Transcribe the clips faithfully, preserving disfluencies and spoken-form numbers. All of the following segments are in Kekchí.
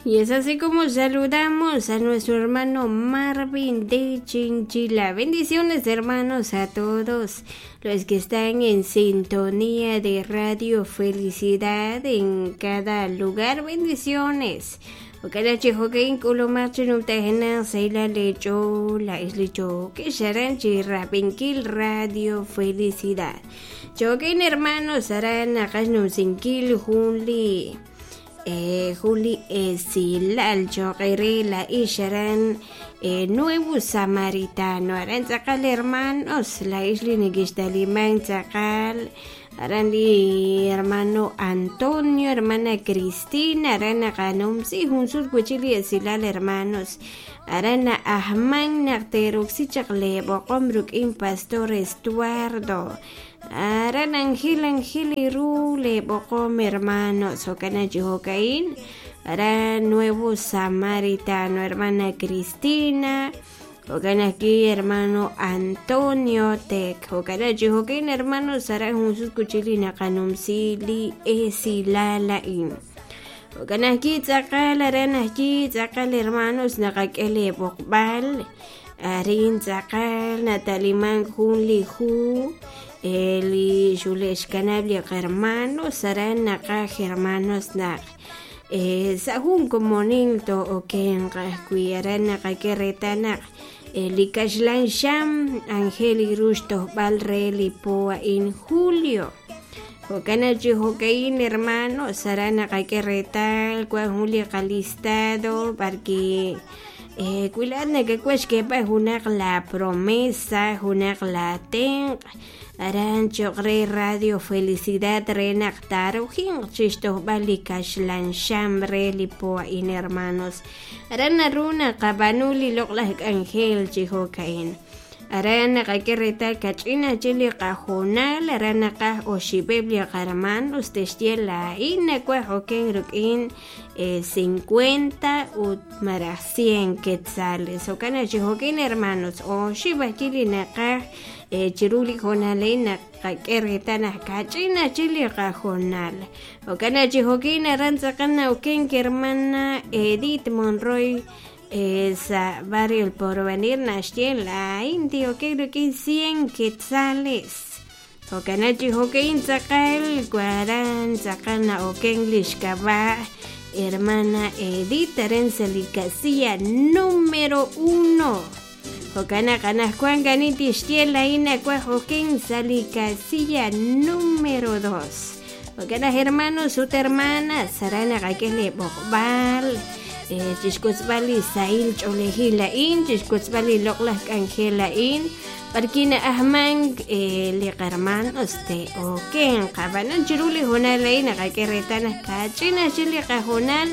Y es así como saludamos a nuestro hermano Marvin de Chinchila. Bendiciones, hermanos, a todos los que están en sintonía de Radio Felicidad en cada lugar. Bendiciones. Okala chijokein k'ulumaq chinumtajenaq sayla lecho la islicho que sharan chirrapinkil Radio Felicidad. Chokein hermanos aran naqax numsinkil junli eh, Juli Esilal choqere la isharan eh, Nuevo Samaritano aran tzaqal hermanos la isli nikixtaliman tzaqal aran li hermano Antonio, hermana Cristina, aran naqanumsi junsul wichili esilal hermanos aran ahman naqteruksichaq leboqom ruk'in pastor Estuardo aran Angel Angel iru leboqom hermanos jokana chijokain aran Nuevo Samaritano hermana Cristina Jokan aquí hermano Antonio Tek jokana chijokain hermanos aran junsul kuchili naqanumsi li esilalain Jokan aquí tzaqal aran aquí tzaqal hermanos naqak'el boqb'al arin tzaqal nataliman jun li ju eli xulexkanab li hermanos aran naqaj hermanos naq eh, sa jun komonil to oken qajwi aran naqak'e retanaq li kaxlan xam Angel iruux tojb'al re li po in julio Jokana chijokain hermanos aran naqak'e retal kwan jun li qalistado porque eh, kuilat nakak'uax kepaj junaq la promesa junaq la tenq aran choq re Radio Felicidad re naq tarujin chixtojb'al li kaxlan xam re li po in hermanos aran naru naqab'anu li loq'laj k'anjel chijokain aran naqak'e retal kach'in achil li qajonal aran naqaj oxib'eb' li qarmanos texye la'in nakuaj oken ruk'in eh, cincuenta ut maraj cien quetzales jokana chijokain hermanos oxib' ajwi' li naqaj eh, chiru li jonalej naqak'e retal naq kach'in achil li qajonal jokana chijokain aran tz'aqal nawken hermana Edith Monroy sa barrio El Porvenir naxye la'in tijoken ruk'in cien quetzales jokana chijokain tzaqal waran tzaqal na'oken lixkab'a hermana Edith aran sa li casilla número uno jokana qanajkuan kanin tixye la'in nakuaj oken sa li casilla número dos jokana hermanos ut hermanas aran naqak'e li b'oqb'al eh, chixkutzb'al li sahil ch'oolejil la'in chixkutzb'al li loq'laj k'anjel la'in parki na'ajman eh, li qarmanos te oken qab'anan chiru li jonal la'in naqak'e retal naq kach'in achil li qajonal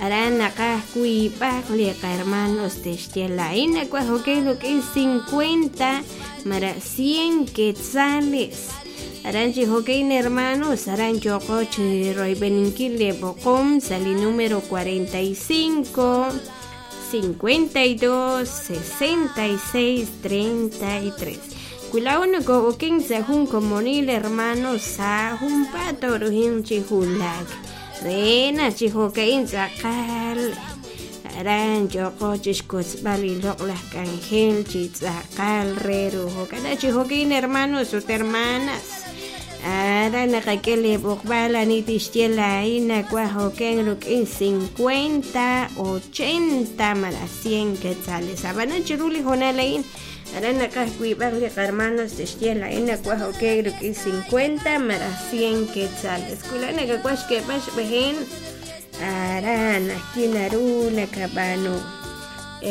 aran naqaj wiib'aq li qarmanos texye la'in nakuaj oken ruk'in cincuenta mara cien quetzales aran chijokain hermanos aran yoqo chiroybeninkil li b'oqom sa li número cuarenta y cinco cincuenta y dos sesenta y seis treinta y tres Cuilao nako oken sa jun komonil hermanos sa jun pato rujin chijulak rena chijokain tzaqal aran yoqo chixkutzb'al li loq'laj k'anjel chitz'aqal re rujokana chijokain hermanos ut hermanas aran naqak'e li b'oqb'al ani tixye la'in nakuaj oken ruk'in cincuenta ochenta mara cien quetzales ab'anan chiru li jonal la'in aran naqaj wiib'aq li qarmanos texye la'in nakuaj oken ruk'in cincuenta mara cien quetzales kuila nakakuaj xk'eb'al xb'ejeen aran ajki naru nakab'anu.